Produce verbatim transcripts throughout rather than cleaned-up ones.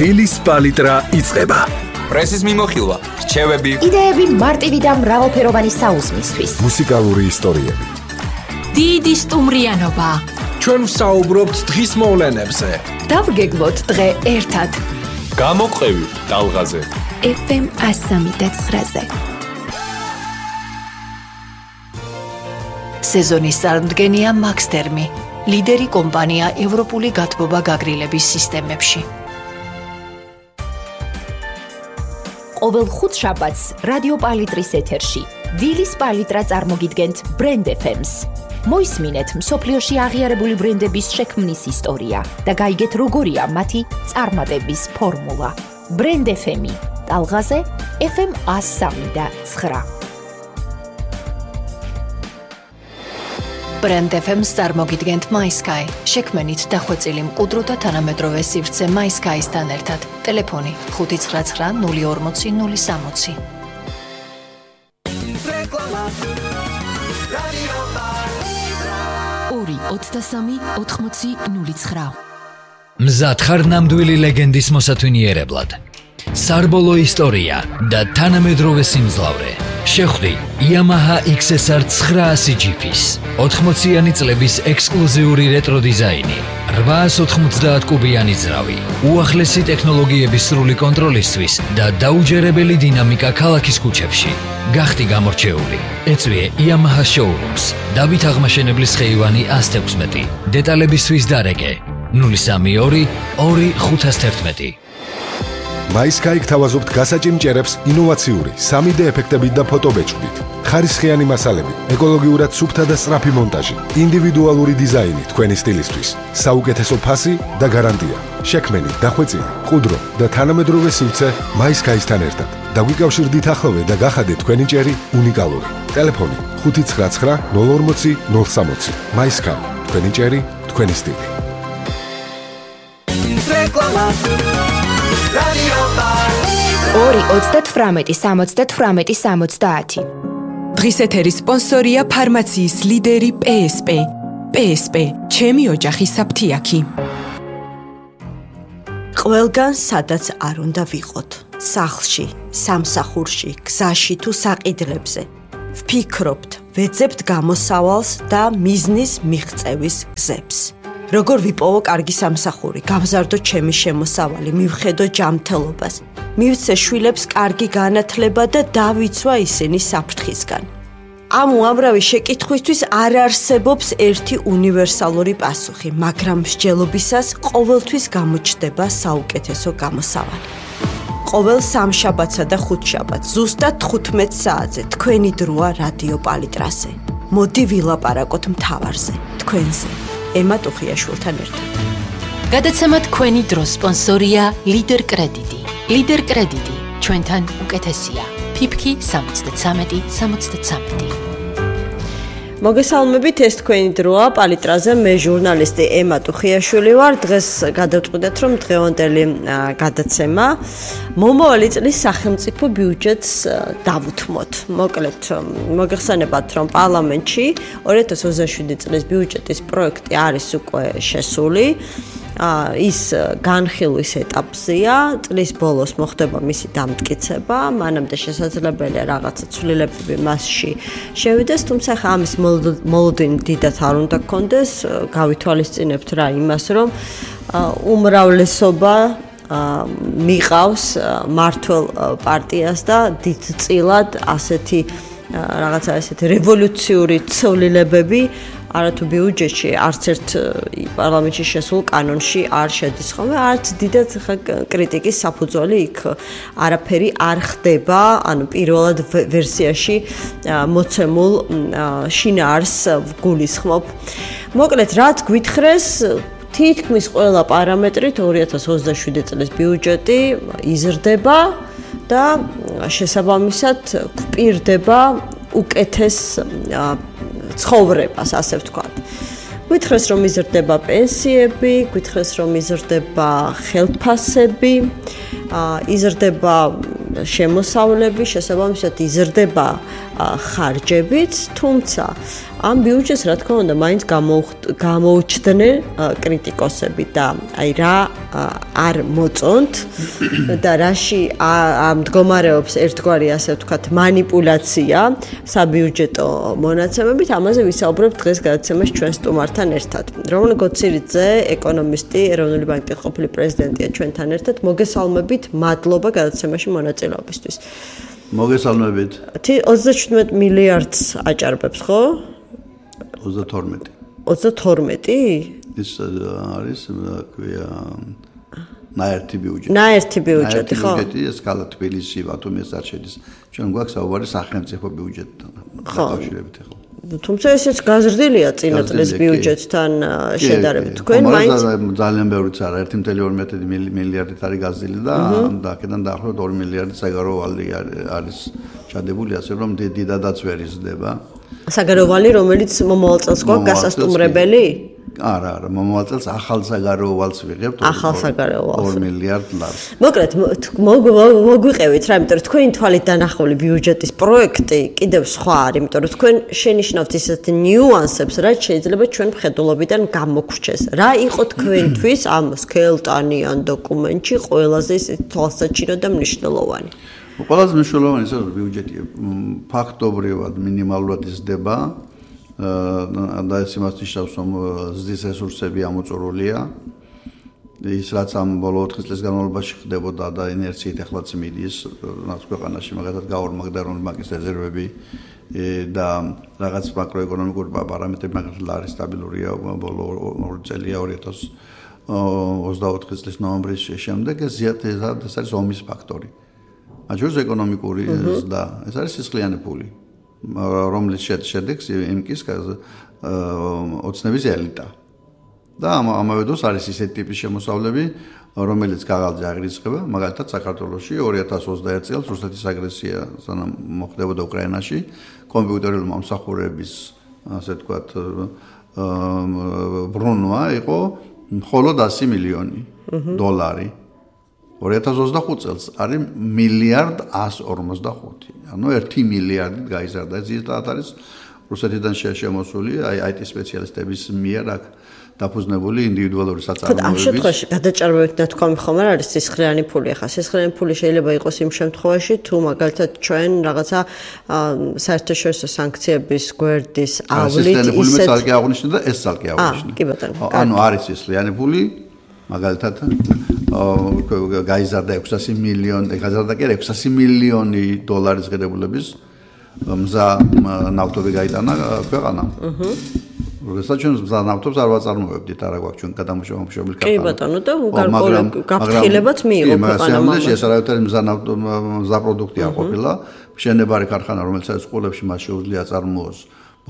დილის პალიტრა იწყება. პრესის მიმოხილვა, რჩევები, იდეები მარტივი და მრავალფეროვანი საუზმისთვის. მუსიკალური ისტორიები. დიდი სტუმრიანობა. ჩვენ ვსაუბრობთ დღის მოვლენებზე. დავგეგმოთ დღე ერთად. გამოყევი ტალღაზე. ეფ ემ εκατო სამი და ცხრაზე. სეზონის წარმდგენია Max Termi, ლიდერი კომპანია ევროპული გათბობა გაგრილების სისტემებში. ყოველ ხუთშაბათს რადიო პალიტრის ეთერში დილის პალიტრა წარმოგიდგენთ Brand ეფ ემს. მოისმინეთ მსოფლიოში აღიარებული ბრენდების შექმნის ისტორია და გაიგეთ როგორია მათი წარმატების ფორმულა. Brand ეფ ემი ტალღაზე ეფ ემ εκατო სამი და ცხრა. Brand ეფ ემს წარმოგიდგენთ MySky, შექმნით დახვეწილი მყუდრო და თანამედროვე სივრცე MySky-სთან ერთად. ტელეფონი ხუთი ცხრა ცხრა ნული ორმოცი ნული სამოცი. ორი ოცდასამი ოთხმოცი ნული ცხრა. მზად ხარ ნამდვილი ლეგენდის მოსათვინიერებლად. სარბოლო ისტორია და თანამედროვე სიმძლავრე. შეხვდი Yamaha ექს ეს არ ცხრაასი ჯიფის ოთხმოციანი წლების ექსკლუზიური რეტრო დიზაინი, რვაას ოთხმოცდაათ კუბიანი ძრავი, უახლესი ტექნოლოგიების სრული კონტროლისთვის და დაუჯერებელი დინამიკა ქალაქის ქუჩებში. გახდი გამორჩეული. ეწვიე Yamaha showrooms. დავით აღმაშენებლის ხეივანი ას თექვსმეტი. დეტალებისთვის დარეკე ნული სამი ორი ორი ხუთას თერთმეტი. MySky გთავაზობთ გასაჭიმჭერებს ინოვაციური სამი დე ეფექტებით და ფოტობეჭდით. ხარისხიანი მასალები, ეკოლოგიურად სუფთა და სწრაფი მონტაჟი, ინდივიდუალური დიზაინი თქვენი სტილისთვის, საუკეთესო ფასი და გარანტია. შექმენი, დახვეწილი, მყუდრო და თანამედროვე სივრცე MySky-სთან ერთად. დაგვიკავშირდით ახლოვე და გახადეთ თქვენი ჭერი უნიკალური. ტელეფონი ხუთი ცხრა ცხრა ნული ორმოცი ნული სამოცი. MySky, თქვენი ჭერი, თქვენი სტილი. ორი ოცდათვრამეტი სამოცდათვრამეტი სამოცდაათი. დღის ეთერის სპონსორია ფარმაციის ლიდერი პე ეს პე. პე ეს პე, ჩემი ოჯახის საფთიაქი. ყველგან სადაც არ უნდა ვიყოთ, სახლში, სამსახურში, გზაში თუ საყიდლებზე. ვფიქრობთ, ვეძებთ გამოსავალს და მიზნის მიღწევის გზებს. როგორ ვიპოვო კარგი სამსახური, გავზარდო ჩემი შემოსავალი, მივხედო ჯანმრთელობას, მივცე შვილებს კარგი განათლება და დავიცვა ისინი საფრთხისგან. ამ უამრავი შეკითხვისთვის არ არსებობს ერთი უნივერსალური პასუხი, მაგრამ მსჯელობისას ყოველთვის გამოჩნდება საუკეთესო გამოსავალი. ყოველ სამშაბათსა და ხუთშაბათს ზუსტად თხუთმეტ საათზე თქვენი დროა რადიო პალიტრაზე. მოდი ვილაპარაკოთ მთავარზე, თქვენზე. ემა ტუხიაშვილთან ერთად. გადაცემა თქვენი დრო სპონსორია ლიდერ კრედიტი. ლიდერ კრედიტი ჩვენთან უკეთესია. ფიფკი სამოცდათრამეტი სამოცდათრამეტი. მოგესალმებით, ეს თქვენი დროა პალიტრაზე, მე ჟურნალისტი ემა ტუხიაშვილი ვარ. დღეს გადავწყვიტეთ, რომ დღევანდელი გადაცემა მომავალი წლის სახელმწიფო ბიუჯეტს დავუთმოთ. მოკლედ, მოგეხსენებათ, რომ პარლამენტში ორი ათას ოცდაშვიდი წლის ბიუჯეტის პროექტი არის უკვე შესული. ის განხილვის ეტაპზეა, წლის ბოლოს მოხდება მისი დამტკიცება, მანამდე შესაძლებელია რაღაცა ცვლილებები მასში შევიდეს, თუმცა ხა ამის მოლოდინი დიდად არ უნდა გქონდეს, გავითვალისწინებთ რა იმას, რომ უმრავლესობა მიყავს მართლ პარტიას და დიდწილად ასეთი რაღაცა ესეთი რევოლუციური ცვლილებები არათუ ბიუჯეტში, არც ერთ პარლამენტში შესულ კანონში არ შედის ხოლმე, არც დიდად კრიტიკის საფუძველი იქ არაფერი არ ხდება, ანუ პირველად ვერსიაში მოცემულ შინაარსს გულისხმობ. მოკლედ, რაც გვითხრეს, თითქმის ყველა პარამეტრით ორი ათას ოცდაშვიდი წლის ბიუჯეტი იზრდება და შესაბამისად გვპირდება უკეთეს ცხოვრებას, ასე ვთქვათ. გვითხრეს, რომ იზრდება პენსიები, გვითხრეს, რომ იზრდება ხელფასები, იზრდება შემოსავლები, შესაბამისად იზრდება ხარჯებიც, თუმცა ამ ბიუჯეტს რა თქმა უნდა მაინც გამოუჩდნენ კრიტიკოსები და აი რა არ მოწონთ და რაში მდგომარეობს ერთგვარი ასე ვთქვათ манипуляция საბიუჯეტო მონაცემებით, ამაზე ვისაუბრებთ დღეს გადაცემაში ჩვენ სტუმართან ერთად. რომან გოცირიძე, ეკონომისტი, ეროვნული ბანკის ყოფილი პრეზიდენტია ჩვენთან ერთად. მოგესალმებით, მადლობა გადაცემაში მონაწილეობისთვის. მოგესალმებით. ოცდაშვიდმეტ მილიარდს აჭარბებს, ხო? ოცდათორმეტი. ოცდათორმეტი? ის არის, ქვია, ნაერთი ბიუჯეტი. ნაერთი ბიუჯეტი, ხო? ბიუჯეტი ეს კალა თბილისი, ბათუმის არ შედის. ჩვენ გვაქვს საუბარი სახელმწიფო ბიუჯეტთან დაკავშირებით ახლა. თუმცა ესეც გაზრდილია წინა წლის ბიუჯეტთან შედარებით. თქვენ მაინც ძალიან ბევრიც არა, ერთი კoma ორმეტი მილიარდით არის გაზრდილი და და აქედან დაახლოებით ორი მილიარდი საგარეო ვალი არის ჩადებული, ასე რომ დიდადაც ვერ იზრდება. საგარეო ვალი, რომელიც მომავალ წელს გვაქვს გასასტუმრებელი? არა, არა, მომავალ წელს ახალ საგარეო ვალს ვიღებთ ახალ საგარეო ვალს ორი მილიარდ ლარს. მოკლედ მოგვიყევით რა, იმიტომ რომ თქვენი თვალით დანახული ბიუჯეტის პროექტი კიდევ სხვა არის, იმიტომ რომ თქვენ შენიშნავთ ისეთ ნიუანსებს, რაც შეიძლება ჩვენ მხედველობიდან გამოგვჩეს. რა იყო თქვენთვის ამ სქელტანიან დოკუმენტში ყველაზე თვალსაჩინო და მნიშვნელოვანი? ყველაზე მნიშვნელოვანი ის არის ბიუჯეტი ფაქტობრივად მინიმალურად იზრდება და ეს იმას ნიშნავს, რომ ზრდის რესურსები ამოწურულია. ის რაც ამ ბოლო ოთხი წლის განმავლობაში ხდებოდა და ინერციით ახლაც მიდის, რაც ქვეყანაში მაგალითად გაორმაგდა ეროვნული ბანკის რეზერვები და რაღაც მაკროეკონომიკური პარამეტრები მაგალითად არის სტაბილურია ბოლო ორი წელია ორი ათას ოცდაოთხი წლის ნოემბრის შემდეგ ეს ეს არის ომის ფაქტორი. აჯერს ეკონომიკური ზრდა, ეს არის სისხლიანი ფული. რომლის შედეგს იმკის ოცნების ელიტა. და ამავე დროს არის ისეთი ტიპის შემოსავლები, რომელიც გაღალზე აღრიცხება, მაგალითად საქართველოში ორი ათას ოცდაერთი წელს რუსეთის აგრესია სანამ მოხდებოდა უკრაინაში, კომპიუტერული მომსახურების, ასე ვთქვათ, ბრუნვა იყო მხოლოდ ასი მილიონი დოლარი. ორი ათას ოცდახუთი წელს არის მილიარდ ასი ორმოცდახუთი. ანუ ერთი მილიარდით გაიზარდა. ეს ზუსტად არის რუსეთიდან შემოსული აი აი ტი სპეციალისტების მიერ აქ დაფუძნებული ინდივიდუალური საწარმოებების. ამ შემთხვევაში გადაჭარბებით ნათქვამი ხომ არ არის სისხლიანი ფული. ახლა სისხლიანი ფული შეიძლება იყოს იმ შემთხვევაში, თუ მაგალითად ჩვენ რაღაცა საერთაშორისო სანქციების გვერდის ავლით ისეთ ფული მე ძალკე აღნიშნე და ეს ძალკე აღნიშნე. კი ბატონო. ანუ არის სისხლიანი ფული მაგალითად გაიზარდა ექვსასი მილიონი, გაიზარდა კი ექვსასი მილიონი დოლარის ღირებულების მზა ნავთობი გაიტანა ქვეყანამ. აჰა. როდესაც ჩვენ მზა ნავთობს არ ვაწარმოებდით, არა გვაქვს ჩვენ გადამუშავებელი ქარხანა. კი ბატონო და გარკვეული გაფრთხილებაც მიიღო ქვეყანამ. მაგრამ ეს არავითარი მზა ნავთო მზა პროდუქტი არ ყოფილა. მშენებარე ქარხანა, რომელიც არის ყოლებში მას შეუძლია აწარმოოს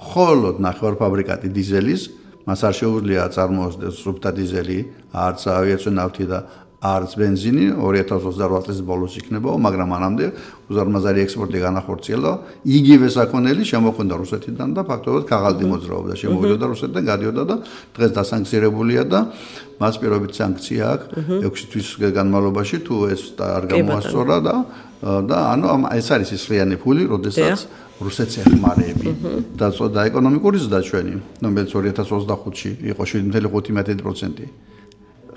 მხოლოდ ნახევარფაბრიკატი დიზელის, მას არ შეუძლია აწარმოოს სუფთა დიზელი, არც ავიაციური ნავთი და არც ბენზინი ორი ათას ოცდაოთხ წლის ბოლოს იქნებაო, მაგრამ მანამდე უზარმაზარი ექსპორტი განახორციელა. იგივე საქონელი შემოხვდა რუსეთიდან და ფაქტობრივად ქაღალდი მოძრაობდა, შემოვიდოდა რუსეთიდან, გადიოდა და დღეს დასანქცირებულია და მას პირობით სანქცია აქვს ექვსი თვის განმავლობაში, თუ ეს არ გამოასწორა და და ანუ ეს არის სისხლიანი ფული, როდესაც რუსეთს ეხმარები და და ეკონომიკური ზრდა ჩვენი, რომელიც ორი ათას ოცდახუთში იყო შვიდი კoma ხუთი პროცენტი.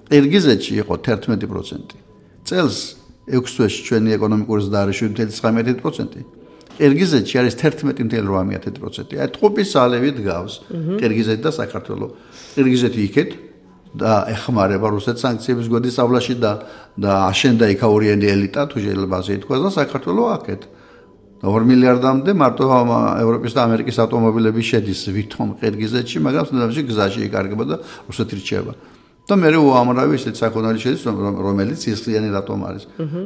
ყირგიზეთში იყო თერთმეტი პროცენტი. წელს ექვს თვეში ჩვენი ეკონომიკური ზრდა არის შვიდი კoma ცხრამეტი პროცენტი. ყირგიზეთში არის თერთმეტი კoma ორმეტი პროცენტი. აი ტყუპის ალევით გავს ყირგიზეთი და საქართველო. ყირგიზეთი იქეთ და ეხმარება რუსეთს სანქციების გვერდის ავლაში და და აშენდა იქაურიანი ელიტა, თუ შეიძლება ასე ითქვას და საქართველო აქეთ. ორი მილიარდამდე მარტო ევროპის და ამერიკის ავტომობილები შედის ვითომ ყირგიზეთში, მაგრამ თუნდაც გზაში იკარგება და რუსეთი რჩება. და მე უამრავი ისეთი საქონელი შედის, რომელიც სისხლიანი რატომ არის.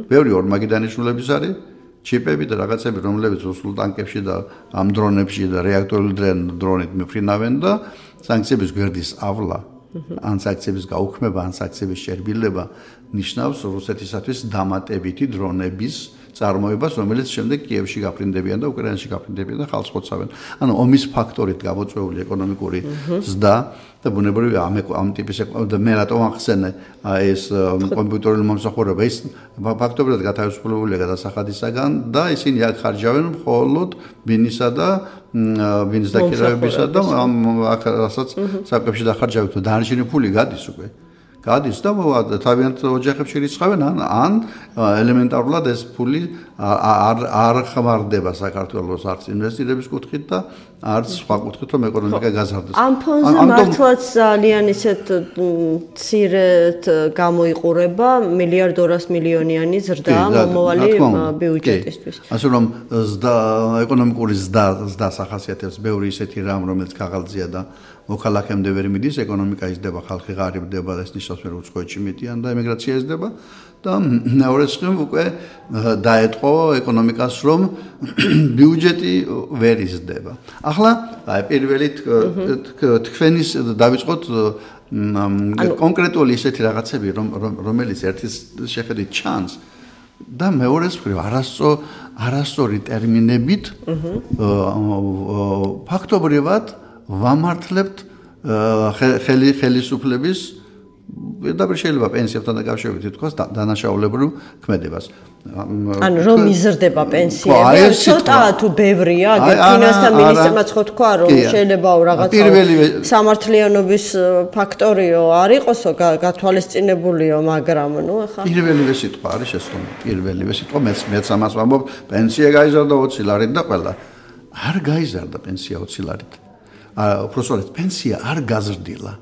ბევრი ორმაგი დანიშნულების არის, ჩიპები და რაღაცები, რომლებიც რუსულ ტანკებში და ამ დრონებში და რეაქტორული დრონით მიფრინავენ და სანქციების გვერდის ავლა, ან სანქციების გაუქმება, ან სანქციების შერბილება ნიშნავს რუსეთისათვის დამატებითი დრონების წარმოებას, რომელიც შემდეგ კიევში გაფრინდებიან და უკრაინაში გაფრინდებიან და ხალხს ხოცავენ. ანუ ომის ფაქტორით გამოწვეული ეკონომიკური ზრდა და ბუნებრივია ამ ამ ტიპის და მე რატომ ახსენე ეს კომპიუტერული მომსახურება ის ფაქტობრივად გათავისუფლებულია გადასახადისაგან და ისინი აქ ხარჯავენ მხოლოდ ბინისა და ბინის დაკირავებისა და აქ რასაც საკუთრებში დახარჯავენ და დანარჩენი ფული გადის უკვე გადის და თავიანთ ოჯახებში რიცხავენ ან ან ელემენტარულად ეს ფული არ არ ხმარდება საქართველოს არც ინვესტირების კუთხით და არც სხვა კუთხით რომ ეკონომიკა გაზარდეს. ამ ფონზე მართლაც ძალიან ისეთ მცირედ გამოიყურება მილიარდ ორას მილიონიანი ზრდა მომავალი ბიუჯეტისთვის. ასე რომ ზრდა ეკონომიკური ზრდა ზრდას ახასიათებს ბევრი ისეთი რამ რომელიც ქაღალდზეა და მოქალაქემდე ვერ მიდის, ეკონომიკა იზრდება, ხალხი ღარიბდება და ეს ნიშნავს რომ უცხოეთში მიდიან და ემიგრაცია იზრდება და მეორე მხრივ უკვე დაეთყო ეკონომიკას რომ ბიუჯეტი ვერ იზრდება. ახლა აი პირველი თქვენის დავიწყოთ კონკრეტული ისეთი რაღაცები რომელიც ერთის შეხედვით ჩანს და მეორე მხრივ არასწორი არასწორი ტერმინებით ფაქტობრივად ვამართლებთ ხელი ხელისუფლების პირდაპირ შეიძლება პენსიებთან დაკავშირებით ითქვას დანაშაულებრივ ქმედებას. ანუ რომ იზრდება პენსიები, ცოტა თუ ბევრია, ფინანსთა მინისტრმაც ხო თქვა რომ შეიძლება რაღაცა სამართლიანობის ფაქტორიო არ იყოსო გათვალისწინებულიო, მაგრამ ნუ ახლა პირველივე სიტყვა არის შესრულებული. პირველივე სიტყვა მეც მეც ამას ვამბობ, პენსია გაიზარდა ოცი ლარით და ყველა. არ გაიზარდა პენსია ოცი ლარით. უბრალოდ პენსია არ გაზრდილა.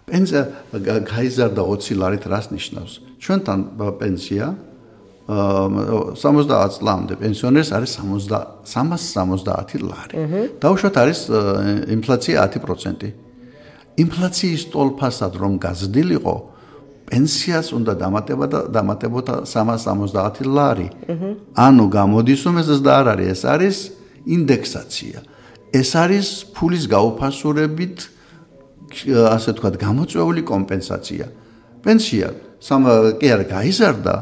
პენსია გაიზარდა ოცი ლარით რას ნიშნავს? ჩვენთან პენსია სამოცდაათ წლამდე პენსიონერს არის სამას სამოცდაათი ლარი. დაუშვათ არის ინფლაცია ათი პროცენტი. ინფლაციის ტოლფასად რომ გაზრდილიყო, პენსიას უნდა დამატება და დამატებოდა სამას სამოცდაათი ლარი. ანუ გამოდის რომ ეს და არ არის, ეს არის ინდექსაცია. ეს არის ფულის გაუფასურებით ასე ვთქვათ გამოწვეული კომპენსაცია. პენსია კი არ გაიზარდა,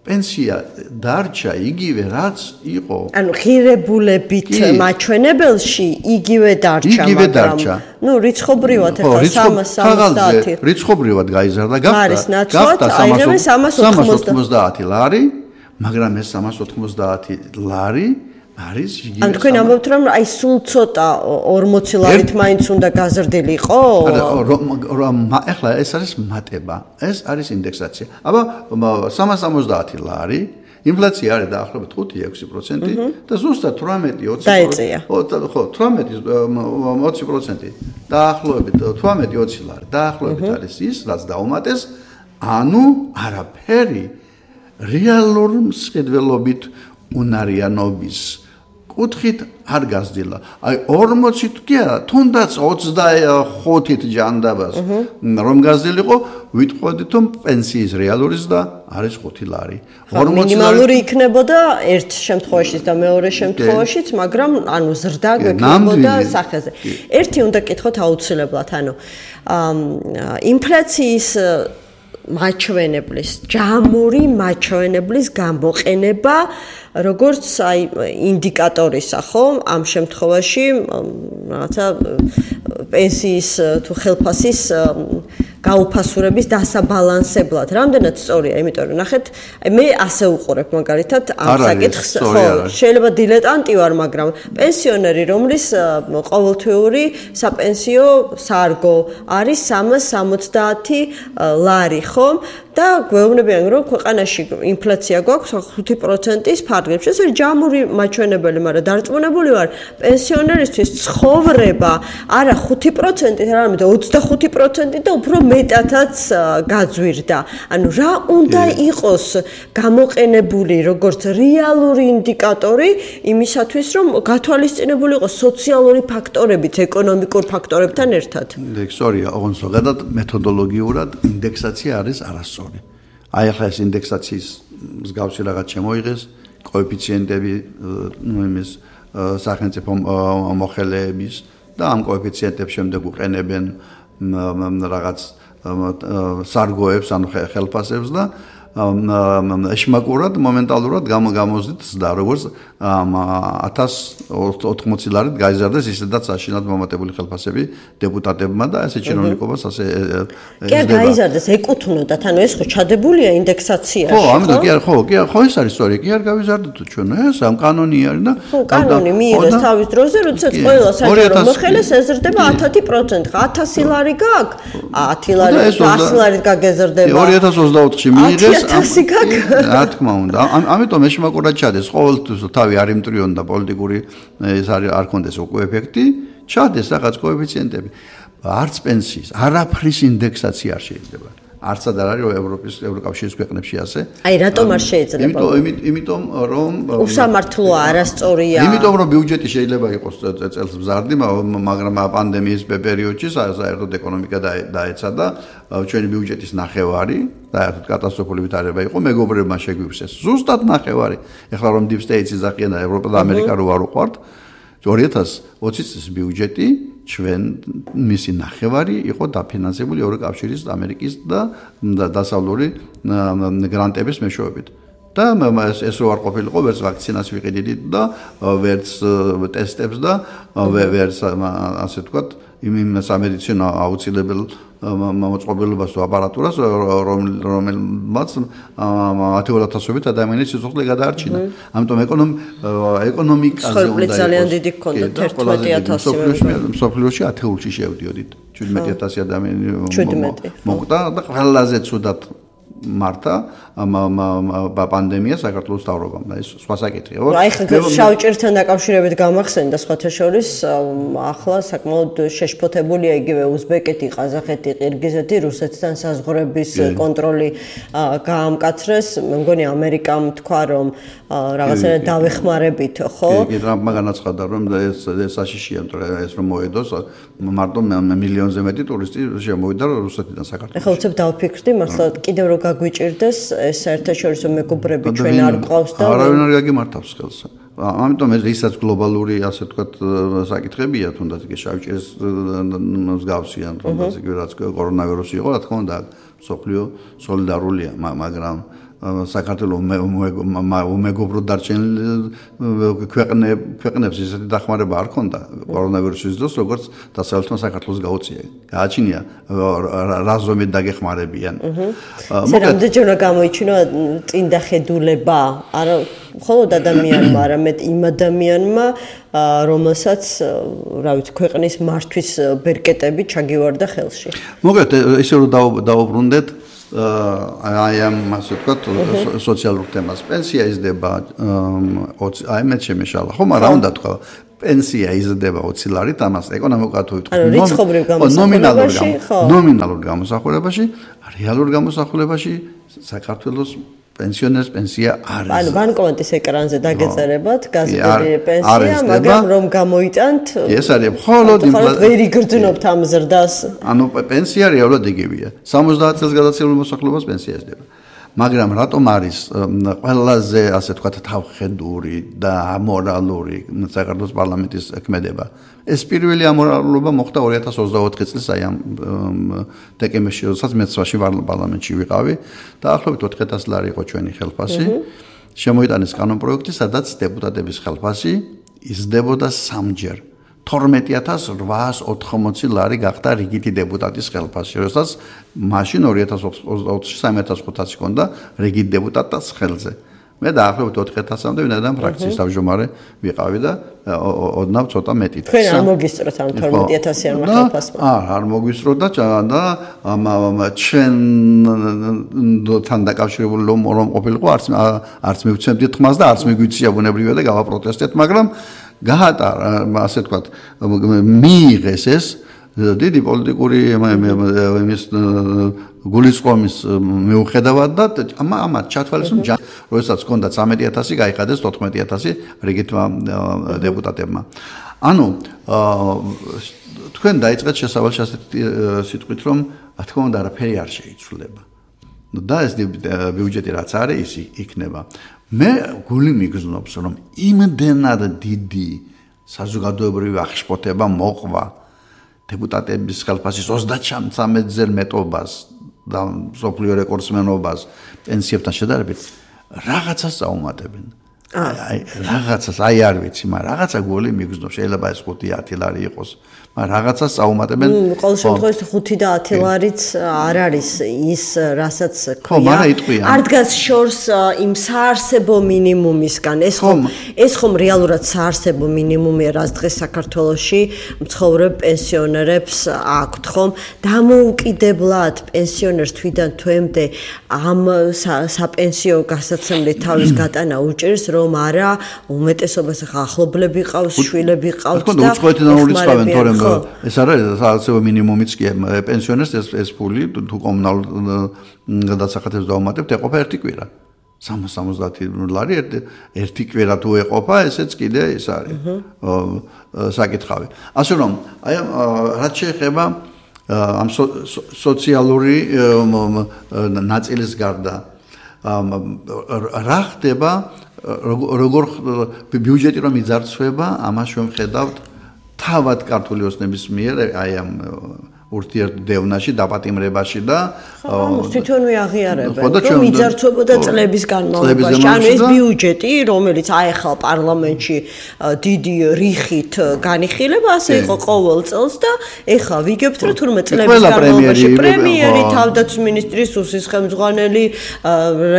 პენსია დარჩა იგივე რაც იყო. ანუ ღირებულებით მაჩვენებელში იგივე დარჩა, მაგრამ ნუ რიცხობრივად ახლა სამას სამოცდაათი რიცხობრივად გაიზარდა, გახდა სამას ოცდაათი ლარი, მაგრამ ეს სამას ოცდაათი ლარი არის იგივე. ან თქვენ ამბობთ რომ აი სულ ცოტა ორმოცი ლარით მაინც უნდა გაზრდილიყო? რომ ახლა ეს არის მატება, ეს არის ინდექსაცია. აბა სამას სამოცდაათი ლარი, ინფლაცია არის დაახლოებით ხუთი ექვსი პროცენტი და ზუსტად თვრამეტი ოცი ხო თვრამეტი ოცი პროცენტი დაახლოებით თვრამეტი ოცი ლარი დაახლოებით არის ის რაც დაუმატეს, ანუ არაფერი რეალურ მსყიდველობით უნარიანობის კუთხით არ გაზრდილა. აი ორმოცით კი არა, თუნდაც ოცდახუთით ჯანდაბას რომ გაზრდილიყო, ვიტყოდით რომ პენსიის რეალური ზრდა არის ხუთი ლარი. მინიმალური იქნებოდა ერთ შემთხვევაშიც და მეორე შემთხვევაშიც, მაგრამ ანუ ზრდა გვექნებოდა სახეზე. ერთი უნდა კითხოთ აუცილებლად, ანუ ინფლაციის მაჩვენებლის, ჯამური მაჩვენებლის გამოყენება როგორც აი ინდიკატორისა, ხო? ამ შემთხვევაში რაღაცა პენსიის თუ ხელფასის გაუფასურების დასაბალანსებლად. რამდენად სწორია, იმიტომ რომ ნახეთ, აი მე ასე უყურებ მაგალითად ამ საკითხს, ხო, შეიძლება დილეტანტი ვარ, მაგრამ პენსიონერი, რომლის ყოველთვიური საპენსიო სარგო არის სამას სამოცდაათი ლარი, ხო? და გვეუბნებიან რომ ქვეყანაში ინფლაცია გვაქვს ხუთი პროცენტის ფარგლებში. ეს არის ჯამური მაჩვენებელი, მაგრამ დარწმუნებული ვარ, პენსიონერისთვის ცხოვრება არა ხუთი პროცენტით, არამედ ოცდახუთი პროცენტით და უფრო მეტადაც გაძვირდა. ანუ რა უნდა იყოს გამოყენებული როგორც რეალური ინდიკატორი იმისათვის, რომ გათვალისწინებული იყოს სოციალური ფაქტორებიც ეკონომიკურ ფაქტორებთან ერთად. სორია, ოღონდ ზოგადად მეთოდოლოგიურად ინდექსაცია არის არასწორი. აი ახლა ეს ინდექსაციის მსგავსი რაღაც შემოიღეს, კოეფიციენტები ნუ იმის სახელმწიფო მოხელეების და ამ კოეფიციენტებს შემდეგ უყენებენ რაღაც სარგოებს, ანუ ხელფასებს და ეშმაკურად მომენტალურად გამოზიდ ზდა როგორც ათას ოთხმოცი ლარით გაიზარდეს ისედაც საშინლად მომატებული ხელფასები დეპუტატებმა და ესე ჩინოვნიკობას ასე კი არ გაიზარდეს ეკუთვნოდათ ანუ ეს ხო ჩადებულია ინდექსაციაში ხო ამიტომ კი არ ხო კი არ ხო ეს არის სწორი კი არ გავიზარდეთ ჩვენ ეს ამ კანონი არის და ხო კანონი მიიღეს თავის დროზე როდესაც ყველა საჯარო მოხელეს ეზრდება ათი პროცენტი ათასი ლარი გაქვს ათი ლარი ათი ლარით გაგეზრდება ორი ათას ოცდაოთხში მიიღეს რა თქმა უნდა ამიტომ ეშმაკურად ჩადეს ყოველთვის თავი არ იმტრიონ და პოლიტიკური ეს არ ქონდეს უკვე ეფექტი ჩადეს რაღაც კოეფიციენტები არც პენსიის არაფრის ინდექსაცია არ შეიძლება არცად არ არის ევროპის ევროკავშირის ქვეყნებში ასე აი რატომ არ შეიძლება იმიტომ იმიტომ რომ უსამართლოა არასწორია იმიტომ რომ ბიუჯეტი შეიძლება იყოს წელს მზარდი მაგრამ პანდემიის პერიოდში საერთოდ ეკონომიკა დაეცა და ჩვენი ბიუჯეტის ნახევარი საერთოდ კატასტროფული ვითარება იყო მეგობრებმა შეგვივსეს ზუსტად ნახევარი ეხლა რომ deep state-ი ზახიან და ევროპა და ამერიკა რო არ უყვართ ორი ათას ოცი წლის ბიუჯეტი ჩვენ მისი ნახევარი იყო დაფინანსებული ევროკავშირის ამერიკის და დასავლური გრანტების მეშვეობით და ეს რო არ ყოფილიყო ვერც ვაქცინას ვიყიდით და ვერც ტესტებს და ვერც ასე ვთქვათ იმ სამედიცინო აუცილებელ მოწყობილობას თუ აპარატურას რომელმაც ათეულათასობით ადამიანის სიცოცხლე გადაარჩინა ამიტომ ეკონომიკაზე უნდა ძალიან დიდი გქონდათ ერთმეტი ათასი მსოფლიოში ათეულში შევდიოდით შვიდმეტი ათასი ადამიანი მოკვდა და ყველაზე ცუდად მართა პანდემია საქართველოს თავრობამ და ეს სხვა საკითხია. აი ხა შავჭირთან დაკავშირებით გამახსენდა სხვათა შორის ახლა საკმაოდ შეშფოთებულია იგივე უზბეკეთი, ყაზახეთი, ყირგიზეთი, რუსეთთან საზღვრების კონტროლი გაამკაცრეს. მე მგონი ამერიკამ თქვა რომ რაღაცა დავეხმარებით, ხო? კი, ტრამპმა განაცხადა რომ ეს საშიშია, ეს რომ მოედოს მარტო მილიონზე მეტი ტურისტი შემოვიდა რუსეთიდან საქართველოში. ეხლა უცებ დავფიქრდი, მართლა კიდევ რო გაგვიჭირდეს ეს საერთაშორისო მეგობრები ჩვენ არ ყავს და არავინ არ გაგიმართავს ხელს. ამიტომ ეს ისაც გლობალური ასე ვთქვათ საკითხებია, თუნდაც კი შავჭირის მსგავსია, თუნდაც კი რაც კორონავირუსი იყო, რა თქმა უნდა, სოფლიო სოლიდარულია, მაგრამ საქართველოს უმეგობრო დარჩენილ ქვეყნებს ისეთი დახმარება არ ქონდა კორონავირუსის დროს, როგორც დასავლეთმა საქართველოს გაუწია. გააჩნია რა ზომით დაგეხმარებიან. რამდენჯერმე გამოიჩინა წინდახედულება, არა მხოლოდ ადამიანმა, არამედ იმ ადამიანმა, რომელსაც, რა ვიცი, ქვეყნის მართვის ბერკეტები ჩაგივარდა ხელში. მოგეთ, ისე რომ დაუბრუნდეთ აი ამ ასე ვთქვათ სოციალურ თემას პენსია იზრდება აი მე შემეშალა ხო მაგრამ რა უნდა თქვა პენსია იზრდება ოცი ლარით ამას ეკონომიკურად თუ ვთქვათ ნომინალურ გამოსახულებაში რეალურ გამოსახულებაში საქართველოს პენსიონერს პენსია არ არის. ანუ ბანკომატის ეკრანზე დაგეწერებათ გაზრდილი პენსია, მაგრამ რომ გამოიტანთ ეს არის მხოლოდ ვერ იგრძნობთ ამ ზრდას. ანუ პენსია რეალურად იგივეა. სამოცდაათ წელს გადაცემულ მოსახლეობას პენსია იზრდება. მაგრამ რატომ არის ყველაზე ასე ვთქვათ თავხედური და ამორალური საქართველოს პარლამენტის ქმედება? ეს პირველი ამორალობა მოხდა ორი ათას ოცდაოთხი წლის აი ამ დეკემბერში, როდესაც მეც ვაში პარლამენტში ვიყავი, დაახლოებით ოთხი ათასი ლარი იყო ჩვენი ხელფასი. შემოიტანეს კანონპროექტი, სადაც დეპუტატების ხელფასი იზრდებოდა სამჯერ. თორმეტი ათას რვაას ოთხმოცი ლარი გახდა რიგითი დეპუტატის ხელფასი, როდესაც მაშინ ორი ათას ოცდაოთხში სამი ათას ხუთასი ჰქონდა რიგით დეპუტატის ხელზე. მე დაახლოებით ოთხი ათასამდე ვინაიდან ფრაქციის თავმჯდომარე ვიყავი და ოდნავ ცოტა მეტი. თქვენ არ მოგისწროთ ამ თორმეტი ათასიანმა ხელფასმა? აა, არ მოგისწროთ და და ჩვენთან დაკავშირებული რომ ყოფილიყო, არც არც მივცემდით ხმას და არც მიგვიცია ბუნებრივია და გავაპროტესტეთ, მაგრამ გაატარა, ასე ვთქვათ, მიიღეს ეს დიდი პოლიტიკური იმის გულისწყობის მიუხედავად და ამათ ჩათვალეს რომ როდესაც ჰქონდა ცამეტი ათასი გაიხადეს თოთხმეტი ათასი რიგითმა დეპუტატებმა. ანუ თქვენ დაიწყეთ შესავალს ასეთი სიტყვით რომ რა თქმა უნდა არაფერი არ შეიცვლება. და ეს ბიუჯეტი რაც არის ის იქნება. მე გული მიგზნობს რომ იმდენად დიდი საზოგადოებრივი აღშფოთება მოყვა დეპუტატების ხელფასის ოცდაათამდე მეტობას და სოფლიო რეკორდსმენობას პენსიებთან შედარებით რაღაცას წაუმატებენ. აი რაღაცას აი არ ვიცი, მაგრამ რაღაცა გული მიგზნობს, შეიძლება ეს ხუთი ათი ლარი იყოს. მაგრამ რაღაცას წაუმატებენ. ყოველ შემთხვევაში ხუთი და ათი ლარიც არ არის ის, რასაც ხო, ქვია. მაგრამ იტყვიან. არ დგას შორს იმ საარსებო მინიმუმისგან. ეს ხომ ეს ხომ რეალურად საარსებო მინიმუმია, რაც დღეს საქართველოში მცხოვრებ პენსიონერებს აქვთ, ხომ? დამოუკიდებლად პენსიონერს თვიდან თვემდე ამ საპენსიო გასაცემლით თავის გატანა უჭირს, რომ არა უმეტესობას ახლა ახლობლები ყავს, შვილები ყავს და უცხოეთიდან ურიცხავენ, თორემ ეს არის საარსებო მინიმუმიც კი პენსიონერს ეს ეს ფული თუ კომუნალურ გადასახადებს დავუმატებთ, ეყოფა ერთი კვირა. სამას სამოცდაათი ლარი ერთი კვირა თუ ეყოფა, ესეც კიდე ეს არის საკითხავი. ასე რომ, აი რაც შეეხება ამ სოციალური ნაწილის გარდა რა ხდება როგორ ბიუჯეტი რომ იძარცვება, ამას შევხედავთ თავად ქართული ოცნების მიერ აი ამ ურთიერთდევნაში, დაპატიმრებაში და თვითონვე აღიარებენ, რომ იძარცვებოდა წლების განმავლობაში. ანუ ეს ბიუჯეტი, რომელიც აეხლა პარლამენტში დიდი რიხით განიხილება, ასე იყო ყოველ წელს და ეხლა ვიგებთ, რომ თურმე წლების განმავლობაში პრემიერი, თავდაცვის მინისტრი, სუსის ხელმძღვანელი,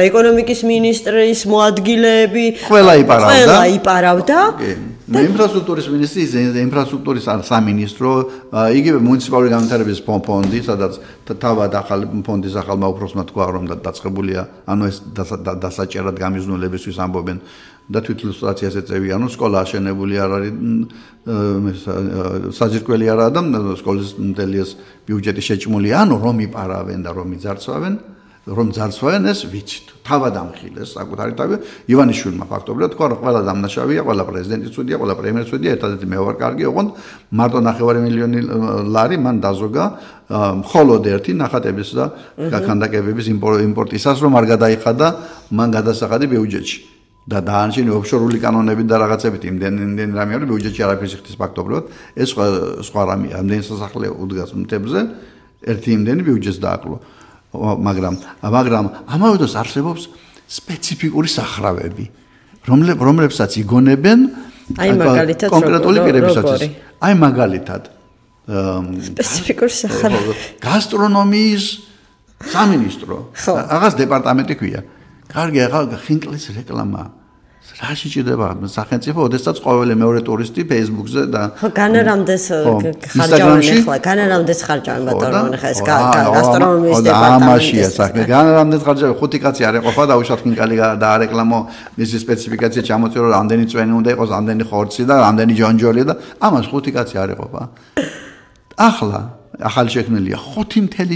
ეკონომიკის მინისტრის მოადგილეები ყველა იპარავდა. ყველა იპარავდა. ინფრასტრუქტურის მინისტრის ინფრასტრუქტურის სამინისტრო, იგივე მუნიციპალური განვითარების ფონდი, სადაც თავად ახალი ფონდის ახალმა უფროსმა თქვა, რომ დაწყებულია, ანუ ეს დასაჭერად გამიზნულებისთვის ამბობენ და თვითილუსტრაციას ეწევიან, ანუ სკოლა აშენებული არ არის, საძირკველი არაა და სკოლის მთელი ეს ბიუჯეტი შეჭმულია, ანუ რომ იპარავენ და რომ იძარცვავენ, რომ ძარცვავენ ეს ვიცით. თავად ამხილეს საკუთარი თავი ივანიშვილმა ფაქტობრივად თქვა, რომ ყველა დამნაშავეა, ყველა პრეზიდენტი ცუდია, ყველა პრემიერი ცუდია, ერთადერთი მე ვარ კარგი, ოღონდ მარტო ნახევარი მილიონი ლარი მან დაზოგა მხოლოდ ერთი ნახატების და ქანდაკებების იმპორტისას, რომ არ გადაიხადა მან გადასახადი ბიუჯეტში. და დაანჩენი ოფშორული კანონებით და რაღაცებით იმდენ იმდენ რამე არის ბიუჯეტში არაფერს იხდის ფაქტობრივად, ეს სხვა რამეა, ამდენი სასახლე უდგას მთებზე, ერთი იმდენი ბიუჯეტს დააკლო. მაგრამ მაგრამ ამავე დროს არსებობს სპეციფიკური სახრავები, რომლებსაც იგონებენ აი მაგალითად კონკრეტული პირებისათვის. აი მაგალითად სპეციფიკური სახრავები. გასტრონომიის სამინისტრო, რაღაც დეპარტამენტი ქვია. კარგი, ახლა ხინკლის რეკლამა. რაში ჭირდება სახელმწიფო, ოდესაც ყოველი მეორე ტურისტი Facebook-ზე და ხო, განარამდეს ხარჯავენ ახლა, განარამდეს ხარჯავენ ბატონო, ხა ეს გასტრონომიის დეპარტამენტი. ამაშია საქმე, განარამდეს ხარჯავენ, ხუთი კაცი არ ეყოფა და უშავთ ხინკალი დაარეკლამო, მისი სპეციფიკაცია ჩამოწერო, რამდენი წვენი უნდა იყოს, რამდენი ხორცი და რამდენი ჯონჯოლი და ამას ხუთი კაცი არ ეყოფა. ახლა ახალი შექმნილია ხუთი მთელი